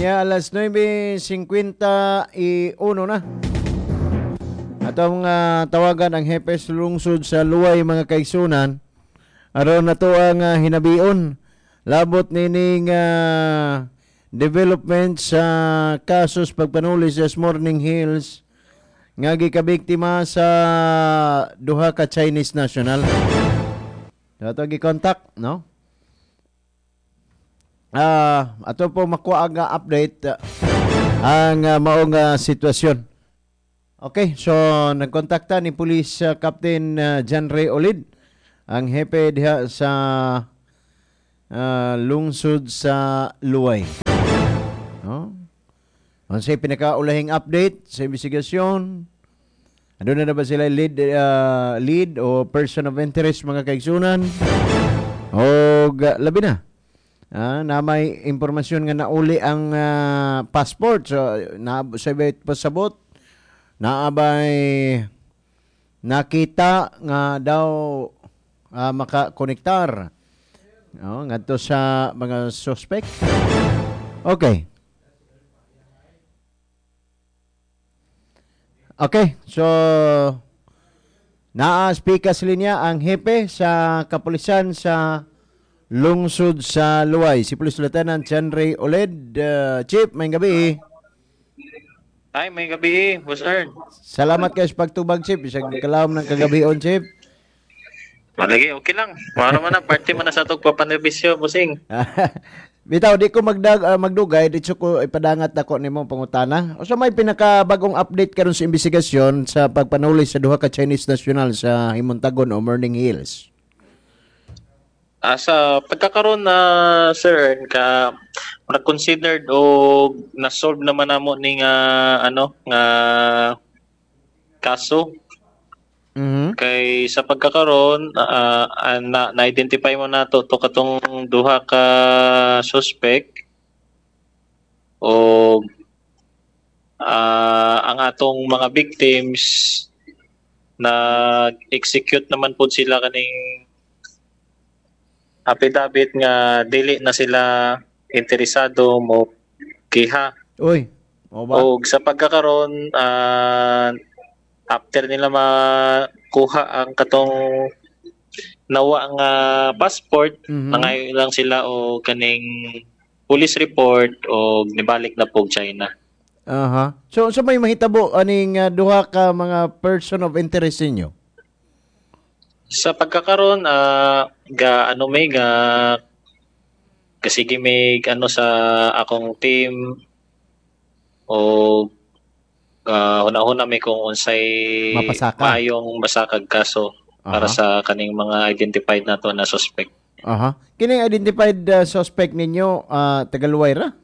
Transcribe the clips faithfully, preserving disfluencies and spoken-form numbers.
Unya alas nuwebe singkwenta y uno na. Atong uh, tawagan ang hepe sa lungsod sa Luway, mga kaigsunan. Aron nato ang uh, hinabion labot nining uh, development sa kasos pagpanuli sa Morning Hills nga gikabiktima sa duha ka Chinese national. Ato gi-contact, no? Ah, ato po makuha ang uh, update uh, ang uh, maong uh, sitwasyon. Okay, so nagkontakta ni Police uh, Captain uh, John Ray Olid, ang hepe diha sa uh, lungsod sa Luway. No? Unsay pinakaulahing update sa investigasyon? Ano na na ba sila lead uh, lead o person of interest, mga kaigsunan? O labi na. Ah, na may impormasyon nga nauli ang ah, passport. So na sa pasabot naabay nakita nga daw ah, makakonektar, no, ngadto sa mga suspect. Okay. Okay, so naa speaker sa linya ang hepe sa kapulisan sa lungsod sa Luway, si Police Lieutenant Henry Oled. Uh, Chief, may gabi. Ay, may gabi, Boss Ern. Salamat kayo sa pagtubag, Chief. Isang kalawom ng kagabion, Chief. Malagi, okay lang. Mano man na, party man na sa itong papanerbisyo, bossing. Bitaw, di ko magdag, ah, magdugay, dito ko ipadangat ako nimo pangutana. O sa may pinakabagong update karon sa investigasyon sa pagpanuli sa duha ka Chinese national sa Himontagon o Morning Hills? Ah, sa pagkakaroon na, Sir Ern, ka na-considered o na-solve naman namo ni nga ano nga kaso Mhm. kay sa pagkakaroon ah, ah, na na-identify mo na to, to katong duha ka suspect o ah, ang atong mga victims, nag-execute naman po sila kaning affidavit nga dili na sila interesado mo kiha. Uy, o ba? Og sa pagkakaroon, ah, after nila makuha ang katong nawa nga passport, Mhm. nangayo lang sila o kaning police report o nibalik na po China. Aha. So sa may mahitabo aning uh, duha ka mga person of interest ninyo? Sa pagkakaroon, ah, ga ano may ga kasige may ano sa akong team o uh, huna-huna may kung unsay Mapasaka. Maayong masakag kaso para Aha. sa kaning mga identified nato na suspect. Aha. Kining identified uh, suspect ninyo, uh, taga-Luway ra?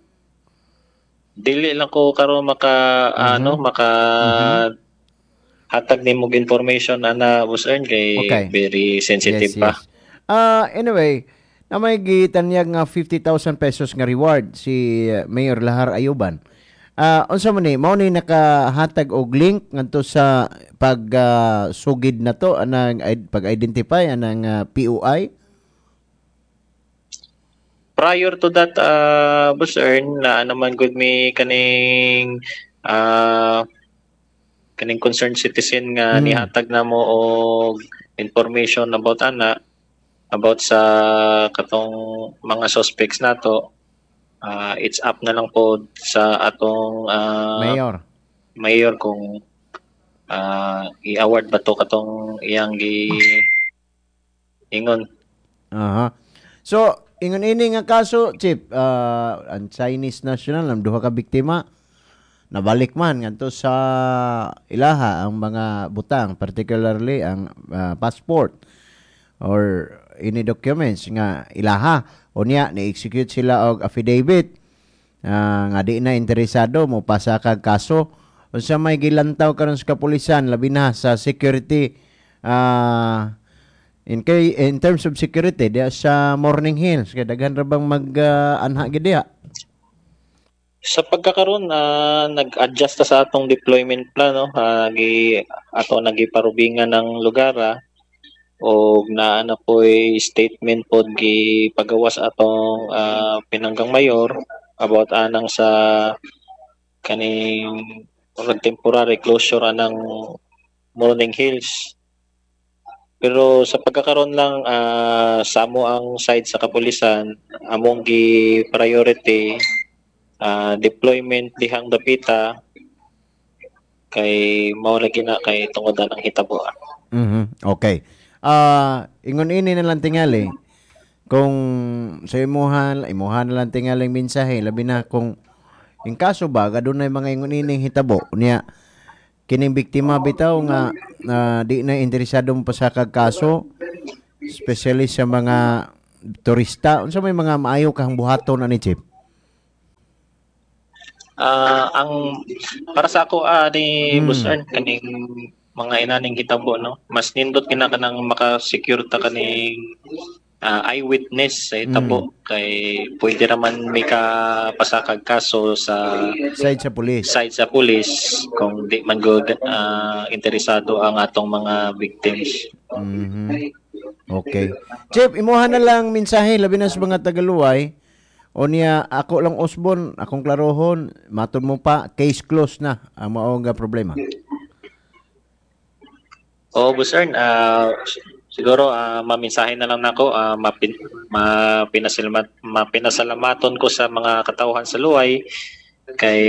Dili lang ko karon maka ano maka hatag nimo og information ana, Boss Ern, kay Okay. very sensitive pa. Ah, anyway, na may gitanyag nga fifty thousand pesos nga reward si uh, Mayor Lahar Ayuban. Ah, unsa man ni mao ni nakahatag og link ngadto sa pag ah, sugid na to anang pag-identify anang ah, P O I? Prior to that, uh, Boss Ern, na naman gud mi kaning ah kaning concerned citizen nga Mm. nihatag namo og information about ana, about sa katong mga suspects nato. Ah, it's up na lang po sa atong ah, Mayor. Mayor kung ah, i-award ba to katong iyang gi ingon. Aha. So, ingon ini nga kaso, Chief, ah, ang Chinese national, ang duha ka biktima, nabalik man ngadto sa ilaha ang mga butang, particularly ang ah, passport or any documents nga ilaha. Unya, ni-execute sila og affidavit ah, nga di na interesado mo pasa kag kaso. Unsa may gilantaw karon sa kapulisan, labi na sa security, ah in kay in terms of security diya sa Morning Hills, kay daghan ra bang mag ah, anha gid diha? Sa pagkakaroon na nag-adjust ta sa atong deployment plan, no, uh, gi ato nagiparubingan ng lugar ah, og naa na po'y statement pod gi pagawas atong ah, pinanggang mayor. about anang sa kaning murag temporary closure anang Morning Hills. Pero sa pagkakaroon lang, ah, sa amo ang side sa kapulisan, among gi priority ah, deployment dihang dapita kay mao lagi na kay tungod ang hitabo. Mhm. Okay. Ah, ingon ini na lang tingali kung sa imuhan, imuhan na lang tingaling mensahe, labi na kung in kaso ba adunay mga ingon ining hitabo niya, kining biktima bitaw nga na di na interesado mo pasakag kaso, especially sa mga turista, unsa may mga maayo kang buhaton ani, Chief? Ah, ang para sa ako ah, ni Mm. Boss Ern, kaning mga inaning hitabo, no, mas nindot kina kanang maka-secure ta kaning ah, eyewitness sa hitabo kay pwede raman may kapasakag kaso sa side sa pulis. Side sa pulis kung di man gud ah, interesado ang atong mga victims. Mhm. Okay. Chief, imuha na lang mensahe labi na sa mga tagaluway. O niya ako lang usbon, akong klarohon, matod mo pa case closed na ang mao nga problema. Oo, Boss Ern, ah, siguro ah, maminsahe na lang nako, ah, mapin, mapinasalmat, mapinasalamaton ko sa mga katawhan sa Luway kay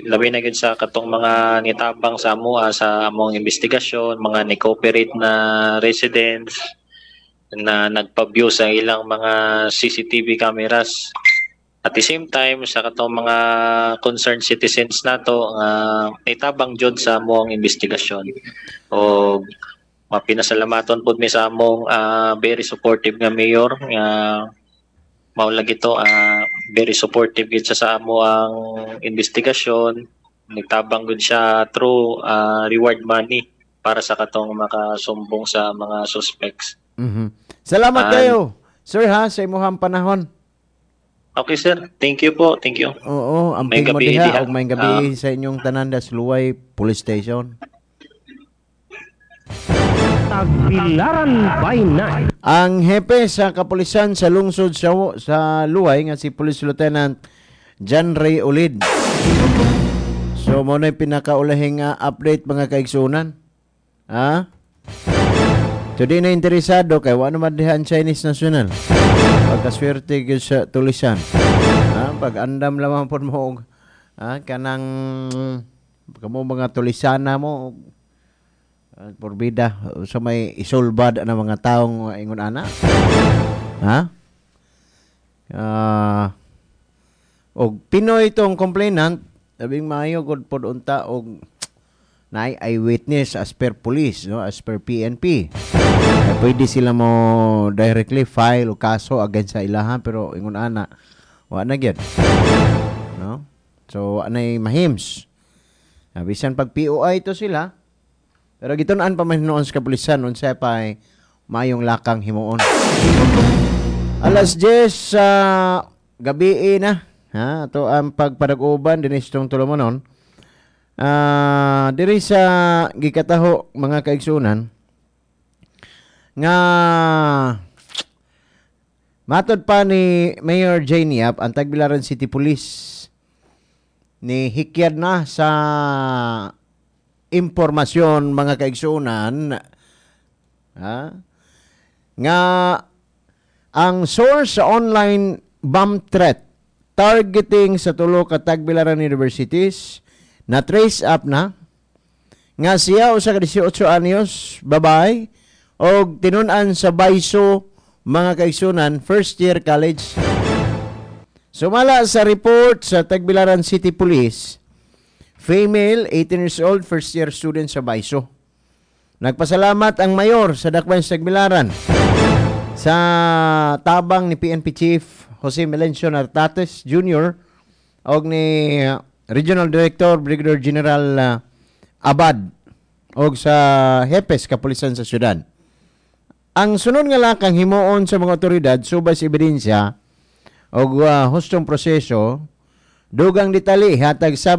labi na gyud sa katong mga nitabang sa amoa sa among investigasyon, mga ni-cooperate na residents na nagpa-view sa ilang mga C C T V cameras. At the same time, sa katong mga concerned citizens nato nga nitabang jud sa among investigasyon. O mapinasalamaton pud mi sa among ah, very supportive nga mayor nga mao lagi to, ah, very supportive gid siya sa amo ang investigasyon. Nagtabang gud siya through ah, reward money para sa katong makasumbong sa mga suspects. Mhm. Salamat And- kayo, sir, ha, sa imuhang panahon. Okay, sir, thank you po, thank you. Oo, amping May mo gabi diha diha. Og may gabi sa inyong tanan sa Luway Police Station. Tagbilaran by Night. Ang hepe sa kapulisan sa lungsod sa, sa Luway nga si Police Lieutenant John Ray Ulid. So mo na pinakaulahing nga update, mga kaigsunan. Ha? So di na interesado kay wa naman diha ang Chinese national. Pagkaswerte gyud sa tulisan. Ha? Pag andam lamang pod mo og ha, kanang kamo mga tulisana mo uh, porbida sa may isulbad na mga taong ingon ana. Ha? Ah, og Pinoy itong complainant, labing maayo gud pod unta og naay eyewitness as per police, no, as per P N P. Eh, pwede sila mo directly file o kaso against sa ilahan, pero ingon ana wa na gyud. No? So wa nay mahims. Ah, bisan pag P O I to sila, pero gitun-an pa man hinuon sa kapulisan unsa pa ay maayong lakang himuon. Alas diyes sa gabi na. Ha, ito ang pagpadag-uban dinhi sa tulumanon. Ah, diri sa gikataho, mga kaigsunan, nga matod pa ni Mayor Jane Yap, ang Tagbilaran City Police ni hikyad na sa impormasyon, mga kaigsunan, ha, nga ang source sa online bomb threat targeting sa tulo ka Tagbilaran universities na trace up na nga siya usa ka labing-walo anyos babae og tinun-an sa Baiso, mga kaigsunan, first year college. Sumala sa report sa Tagbilaran City Police, female, eighteen years old, first year student sa Baiso. Nagpasalamat ang mayor sa Dakbayan sa Tagbilaran sa tabang ni P N P Chief Jose Melencio Nartates Junior og ni uh, Regional Director Brigadier General uh, Abad og sa hepes kapulisan sa syudad. Ang sunod nga lakang himuon sa mga otoridad subay sa ebidensya og uh, hustong proseso, dugang detalye hatag sa,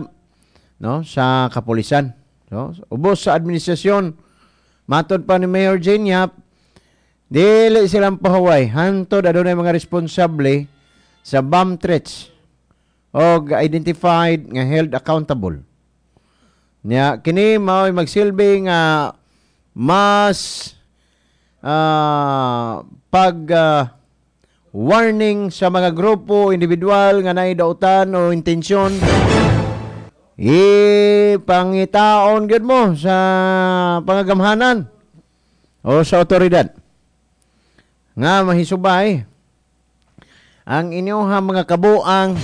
no, sa kapulisan, no? Ubos sa administrasyon, matod pa ni Mayor Jane Yap, dili silang pahuway hantod adunay mga responsable sa bomb threats. Og identified nga held accountable. Nya kini mao'y magsilbi nga mas ah, pag ah, warning sa mga grupo individual nga naay dautan o intensyon ipangitaon gyud mo sa pangagamhanan o sa otoridad nga mahisubay ang inyong mga kabuang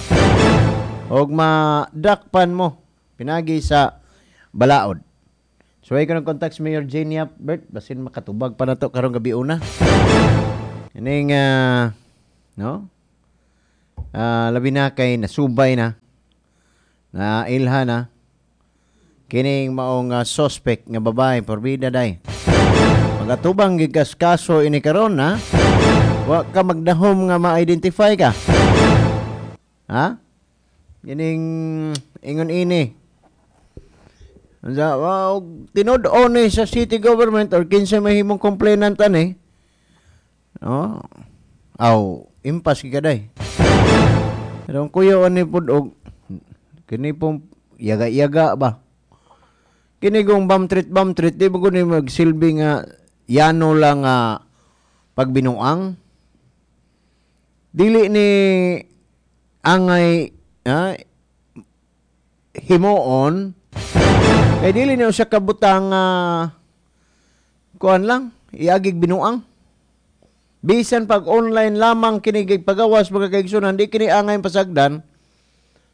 og madakpan mo pinagi sa balaod. So ay ko contact si Mayor Jane Yap, Bert, basin makatubag pa na to karong gabi una. Ining ah, no? Ah, labi na kay nasubay na na ilha na kining maong ah, suspect nga babae porbida day. Magatubang gid kas kaso ini karon ha. Wa ka magdahom nga ma-identify ka. Ha? Kining ingon ini. Unsa wow, tinud-on ni sa city government or kinsa mahimong complainant ani. No? Aw, impas gyud ka day. Pero ang kuya ani pud og kini pong yaga-yaga ba. Kini kung bomb threat bomb threat di ba ko ni magsilbi nga yano lang nga pagbinuang. Dili ni angay ah, himuon kay dili ni usa ka butang uh, kuan lang iagig binuang. Bisan pag online lamang kini pagawas mga kaigsunan, di kini angay pasagdan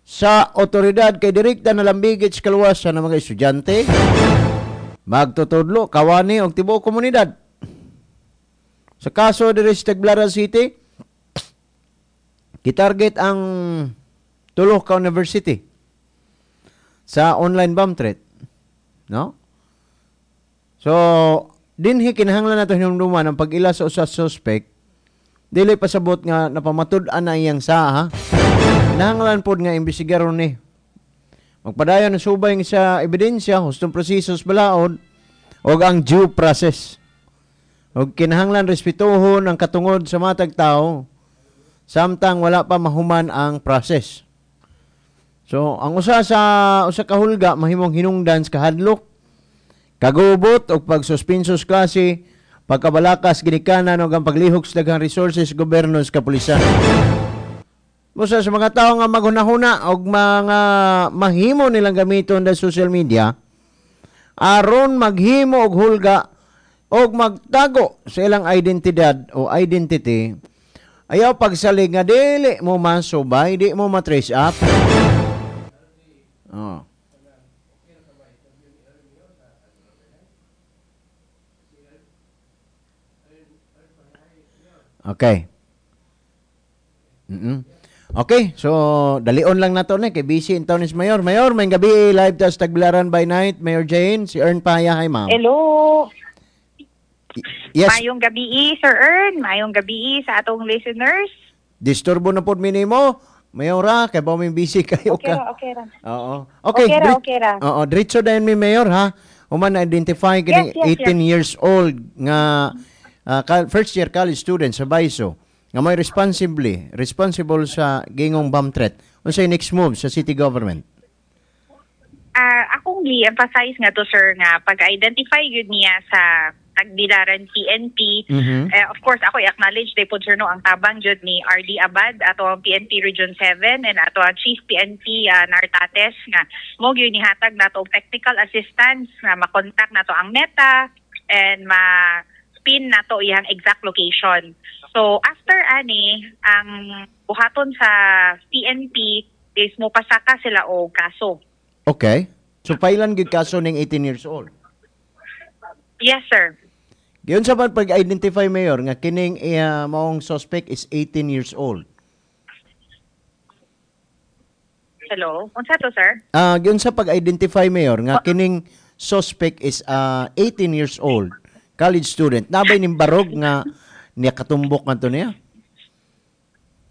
sa otoridad kay direkta na lambigit sa kaluwasan ng mga estudyante, magtutudlo, kawani og tibuok komunidad. Sa kaso diri sa Tagbilaran City, gitarget ang tulo ka university sa online bomb threat. No? So, dinhi kinahanglan nato hinumduman ang pag-ila sa usa suspect dili pasabot nga napamatud-an na iyang sa ha. Kinahanglan pod nga imbestigaron ni. Magpadayon ang subay sa ebidensya, hustong proseso sa balaod og ang due process. Og kinahanglan respetuhon ang katungod sa matag tao samtang wala pa mahuman ang process. So, ang usa sa usa ka hulga mahimong hinungdan sa kahadlok, kagubot og pagsuspenso sa klase, pagkabalakas ginikanan og ang paglihok sa daghang resources gobyerno sa kapulisan. Busa sa mga tao nga maghunahuna og mga mahimo nilang gamiton sa social media aron maghimo og hulga og magtago sa ilang identidad o identity, ayaw pagsalig nga dili mo masubay, di mo matrace up. Oh. Okay. Mm-mm. Okay, so dalion lang nato ni kay busy in town is Mayor. Mayor, may gabi live ta sa Tagbilaran by night. Mayor Jane, si Ern Paya, hi ma'am. Hello. Yes. Mayong gabi, Sir Ern. Mayong gabi sa atong listeners. Disturbo na pod minimo. Mayora, kay ba may busy kayo Okay ka. ra, okay ra. Oo. Okay, Okay ra, drit- okay ra. Oo, diretso dayon mi Mayor ha. Human na identify kini Yes, yes, eighteen years old nga ah, ka- first year college student sa Baiso nga may responsibly responsible sa gingong bomb threat. Unsay next move sa city government? Ah, akong gi-emphasize nga to sir nga pag-identify yun niya sa Tagbilaran P N P. Mhm. Eh, of course, ako i-acknowledge day po sir no ang tabang jud ni R D Abad ato ang P N P Region seven and ato ang Chief P N P ah, Nartates nga mo gyud nihatag nato og technical assistance nga makontak nato ang Meta and ma pin nato iyang exact location. So after ani ang buhaton sa P N P is mo pasaka sila og kaso. Okay. So pailan gyud kaso ning eighteen years old? Yes, sir. Giyon sa man pag-identify, Mayor, nga kining uh, maong suspect is eighteen years old? Hello? Unsa to, sir? Ah, giyon sa pag-identify, Mayor, nga kining suspect is ah, eighteen years old, college student. Nabay ning barog nga niya katumbok ngadto niya?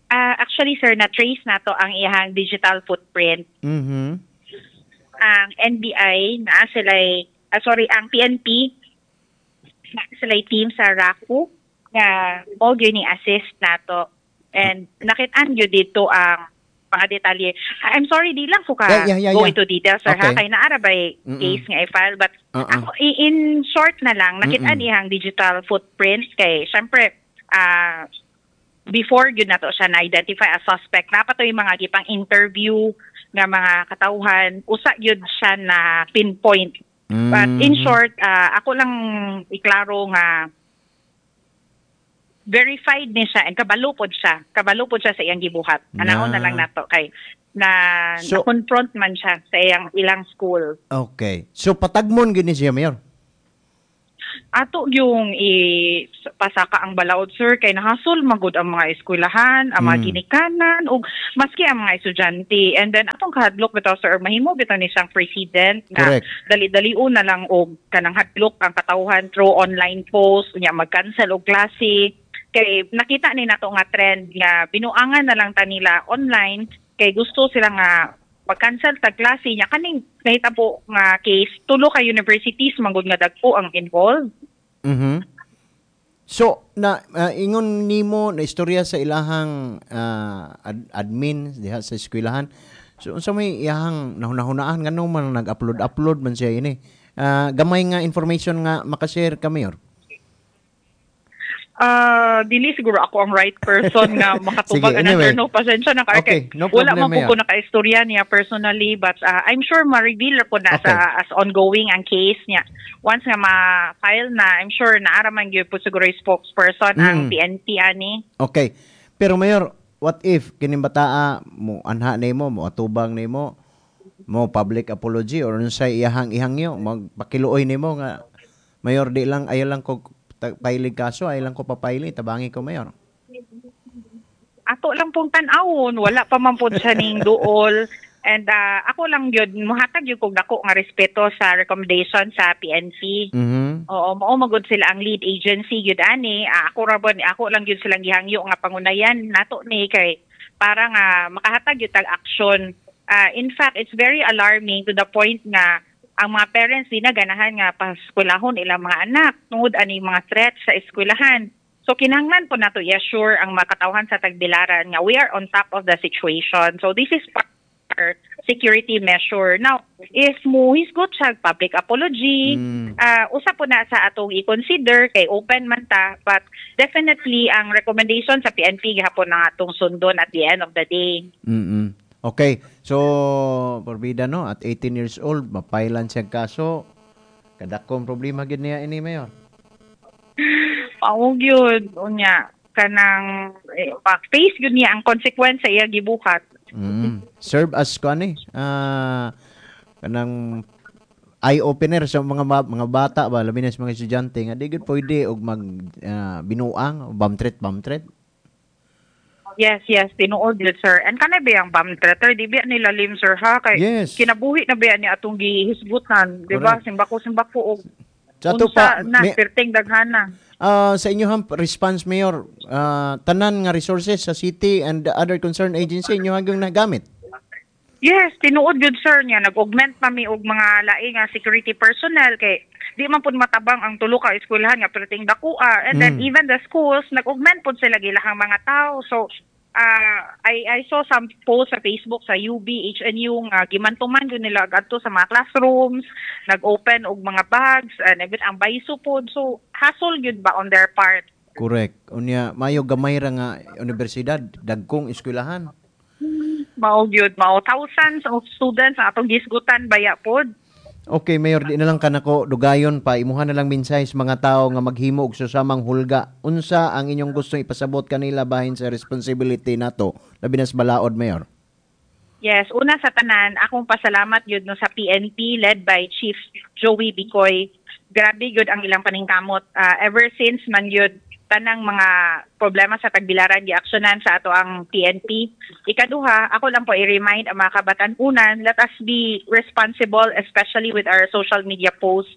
Ah, actually, sir, na-trace nato ang iyang digital footprint. Mhm. Ang N B I naa sila'y, ah, sorry, ang P N P naa sila'y team sa RACU nga mo gyud ni assist nato. And nakitaan gyud dito ang mga detalye. I'm sorry, di lang ko ka Yeah, yeah, yeah, go yeah. into details, sir, Okay. ha? Kay naa ra bay Mm-mm. case nga i-file. But Uh-uh. ako, i- in short na lang, nakita Mm-mm. niyang digital footprints kay, syempre, ah, before yun nato siya na-identify as suspect, naa pa toy mga gipang interview nga mga katawhan, usa yun siya na pinpoint. But in Mhm. short, ah, ako lang iklaro nga verified ni siya and kabalo pod siya. Kabalo pod siya sa iyang gibuhat. Anaon na Na. lang nato kay na So- na-confront man siya sa iyang ilang school. Okay. So patagmon gini siya, Mayor. Ato yung ipasaka ang balaod, sir, kay nahasol magud ang mga eskwelahan, ang mga Mm. ginikanan ug maski ang mga estudyante. And then atong kahadlok bitaw, sir, mahimo bitaw ni siyang precedent na Correct. dali-dali na lang og kanang hadlok ang katawhan through online post unya mag-cancel og klase kay nakita ni nato nga trend nga binuangan na lang ta nila online kay gusto sila nga mag-cancel tag klase nya kaning nahitabo nga case, tulo ka universities manggod nga dagko ang involved. Mhm. So na ah, ingon nimo na istorya sa ilahang ah, ad- admin diha sa eskwelahan. So unsa may iyahang nahunahunaan ngano man nag-upload-upload man siya ini? Ah, gamay nga information nga makashare ka, Mayor. Ah, dili siguro ako ang right person nga makatubag Sige, ana, anyway. sir, no, pasensya na kayo. Okay, no Wala problem, man po Mayor. ko nakaistorya niya personally, but ah, I'm sure ma-reveal po na Okay. sa as ongoing ang case niya. Once nga ma-file na, I'm sure naara man gyud po siguro yung spokesperson ang Mm. P N P ani. Okay. Pero Mayor, what if kining bataa mo anha nimo, mo atubang nimo, mo public apology or unsay iyahang ihangyo, magpakiluoy nimo nga, "Mayor, di lang ayaw lang ko ta- pailig kaso, ayaw lang ko papaili, tabangi ko, Mayor"? Ato lang pong tan-awon, wala pa man pod siya ning duol. And ah, ako lang gyud muhatag gyud kog dako nga respeto sa recommendation sa P N P. Mhm. Oo, mao magud sila ang lead agency gyud ani. Ah, ako ra bon, ako lang gyud silang gihangyo nga pangunayan nato ni kay para nga makahatag gyud tag action. Ah, in fact, it's very alarming to the point nga ang mga parents di na ganahan nga paskwelahon ilang mga anak tungod ani mga threats sa eskwelahan. So kinahanglan po nato i-assure ang mga katawhan sa Tagbilaran nga we are on top of the situation. So this is part our security measure. Now, if mo hisgot siya public apology, Mm. ah usa po na sa atong i-consider kay open man ta, but definitely ang recommendation sa P N P gihapon na atong sundon at the end of the day. Mm. Okay. So, porbida no, at eighteen years old, mapailan siya kaso. Kadakong problema gid niya ini, Mayor. Mao gyud, unya kanang eh, face gyud niya ang consequence sa iya gibuhat. Mm. Serve as kuan eh. Ah, kanang eye opener sa mga ma- mga bata ba, labi na sa mga estudyante nga di gud pwede og mag ah, binuang, bomb threat, bomb threat. Yes, yes, tinuod gyud, sir. And kanay ba yung bomb threat, sir? Di ba nila lim, sir, ha? Kay Yes. kinabuhi na ba niya atong gihisgutan, di ba? Correct. Simbako simbako og Sa ato unsa pa, na may- perting daghana. Ah, sa inyohang response, Mayor, ah, tanan nga resources sa city and the other concerned agency inyo hanggang nagamit? Yes, tinuod gyud, sir, niya. Nag-augment pa mi og mga laing nga security personnel kay di man pud matabang ang tulo ka eskwelahan nga perting dakoa. And then Mm. even the schools, nag-augment pud sila gilahang mga tao. So uh, I I saw some posts sa Facebook sa U B, H N U nga gimantuman gyud nila adto sa mga classrooms, nag-open og mga bags and even ang baiso pod. So hassle gyud ba on their part. Correct. Unya mayo gamay ra nga universidad, dagkong eskwelahan. Mao gyud, mao, thousands of students ang atong gisgutan baya pod. Okay, Mayor, di na lang kanako dugayon pa. Imuha na lang mensahe sa mga tao nga maghimo og susamang hulga. Unsa ang inyong gustong ipasabot kanila bahin sa responsibility nato labi na sa balaod, Mayor? Yes, una sa tanan, akong pasalamat yun no sa P N P led by Chief Joey Bicoy. Grabe yun ang ilang paningkamot. Ah, ever since man yun tanang mga problema sa Tagbilaran giaksyonan sa ato ang P N P. Ikaduha, ako lang po i-remind ang mga kabatan-unan, let us be responsible, especially with our social media posts.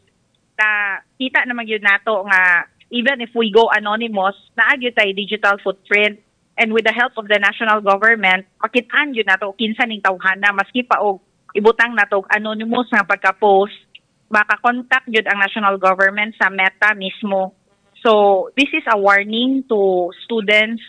Na kita naman yun nato nga even if we go anonymous, naa gyud tay digital footprint and with the help of the national government, makitaan yun nato kinsa ning tawhana maski pa og ibutang nato og anonymous nga pagka-post, makakontak yun ang national government sa Meta mismo. So this is a warning to students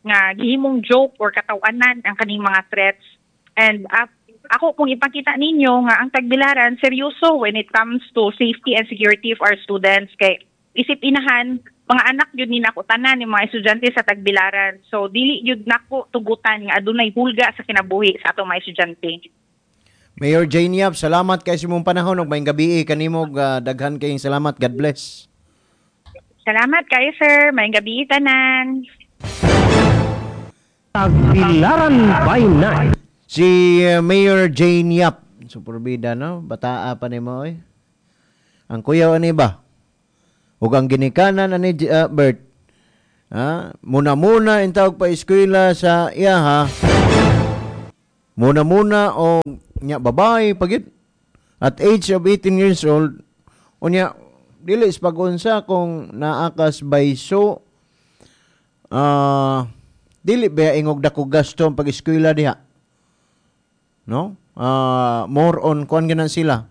nga gihimong joke or katawanan ang kaning mga threats. And uh, ako kung ipakita ninyo nga ang Tagbilaran seryoso when it comes to safety and security of our students, kay isip inahan, mga anak yun ni nako tanan ni mga estudyante sa Tagbilaran. So dili yun nako tugutan nga adunay hulga sa kinabuhi sa atong mga estudyante. Mayor Jane Yap, salamat kay sa imong panahon ug maayong gabii kanimo, uh, daghan kayong salamat. God bless. Salamat kayo, sir. Maayong gabii tanan. Tagbilaran by Night. Si uh, Mayor Jane Yap, superbida, no? Bataa pa nimo oy. Ang kuyaw ani ba? Ug ang ginikanan ani uh, Bert. Ha? Muna-muna intawag pa eskwela sa iyaha. Muna-muna o nya babae pagit. At age of eighteen years old, unya dili sa pag-unsa kung naakas bayso, ah, dili ba ingog dako gasto ang pag-eskwela diha? No? Ah, more on kuan gyud na sila.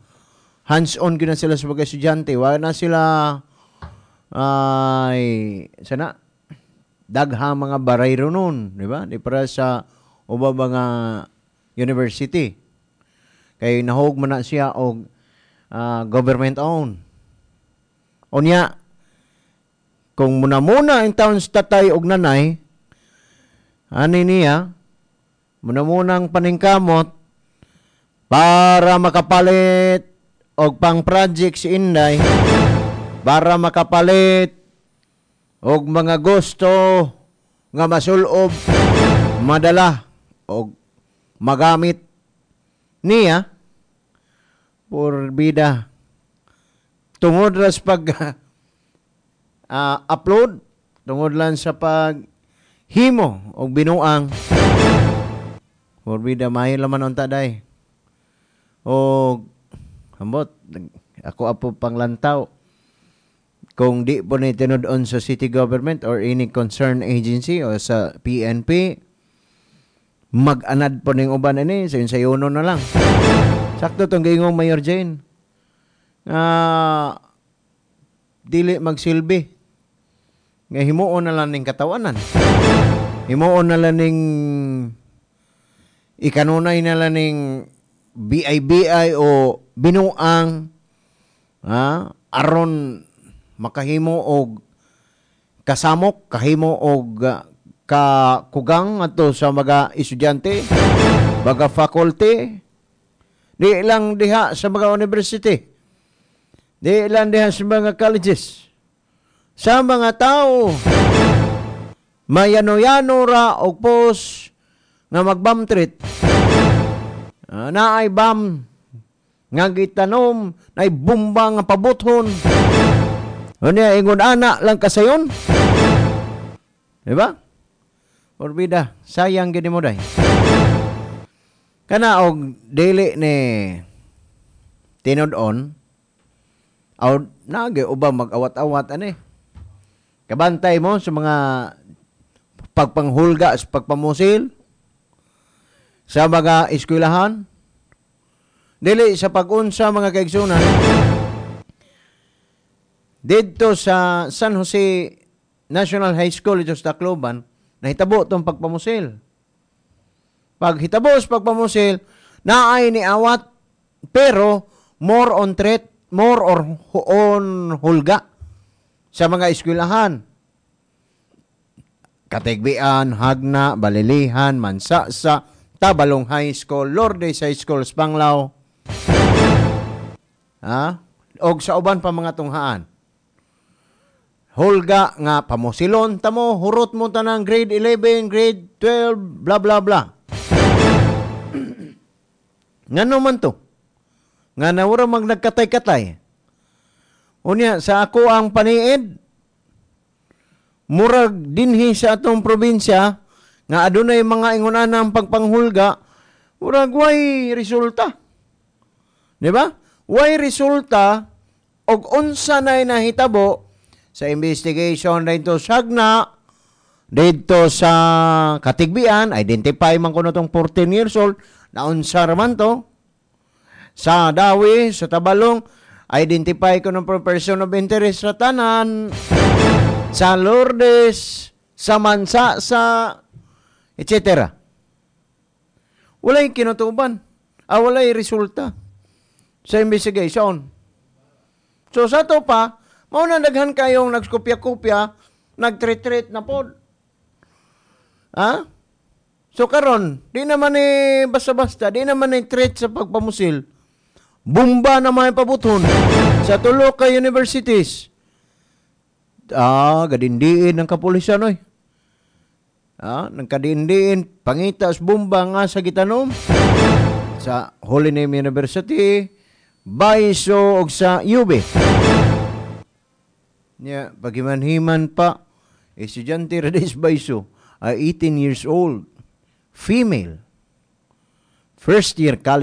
Hands-on gyud na sila sa pag-estudyante. Wala na sila ay sana daghang mga barayro nun, di ba? Di para sa uba mga university. Kay nahog man na siya og ah, government owned. Unya, kung muna-muna ang taon sa tatay og nanay, ani niya, muna-munang paningkamot para makapalit og pang project si Inday, para makapalit og mga gusto nga masulob, madala og magamit niya, porbida tungod ra sa pag ah, upload, tungod lang sa pag himo og binuang, porbida maayo laman unta day. Og ambot ako apo panglantaw kung di po ni tinud-on sa city government or any concerned agency o sa P N P, mag-anad po ning uban ini sa sayuno na lang. Sakto tong giingong Mayor Jane nga dili magsilbi nga himuon na lang ning katawanan, himuon na lang ning ikanunay na lang ning B I B I o binuang, ha, aron makahimo og kasamok, kahimo og ah, kakugang ato sa mga estudyante, mga faculty. Di lang diha sa mga university, di lang diha sa mga colleges, sa mga tao mayano-yano ra og post nga mag-bomb threat. Ah, naay bomb nga gitanom, naay bomba nga pabuthon. Unya ingon ana lang kasayon. Di ba? Porbida, sayang gini mo day. Kana og dili ni tinud-on aw nage uba mag-awat-awat ani. Kabantay mo sa mga pagpanghulga sa pagpamusil sa mga eskwelahan. Dili sa pag-unsa, mga kaigsunan, didto sa San Jose National High School dito sa Tacloban, nahitabo tong pagpamusil. Pag hitabo sa pagpamusil, naay ni awat pero more on threat, more or on hulga sa mga eskwelahan. Katigbian, Jagna, Balilihan, Mansasa, Tabalong High School, Lourdes High School, Spanglao. Ha? Og sa uban pa mga tunghaan. Hulga nga pamusilon tamo, hurot mo tanang grade eleven, grade twelve, bla bla bla. Ngano man to? Nga nawara mag nagkatay-katay. Unya, sa ako ang paniid, murag dinhi sa atong probinsya, nga adunay mga ingunan ng pagpanghulga, murag way resulta. Di ba? Way resulta og unsa nay nahitabo sa investigation dito sa Jagna, dito sa Katigbian, identify man kuno tong fourteen years old, naunsa raman to. Sa Dawi, sa Tabalong, identify ko ng person of interest sa tanan. Sa Lourdes, Sa mansa sa et cetera. Walay kinutuban. Ah, walay resulta sa investigation. So sa to pa, mao na daghan kayong nagkopya-kopya, nagtreat-treat na pod. Ha? So karon, di naman ni basta-basta, di naman ni threat sa pagpamusil. Bomba na may pabuton sa tulo ka universities. Ah, gadindiin ng kapulisan oy. Ah, nagkadindiin pangitas bomba nga sa gitanom sa Holy Name University, Baiso ug sa U B. Nya, pagimanhiman pa, estudyante ra sa Baiso, ay eighteen years old, female, first year college.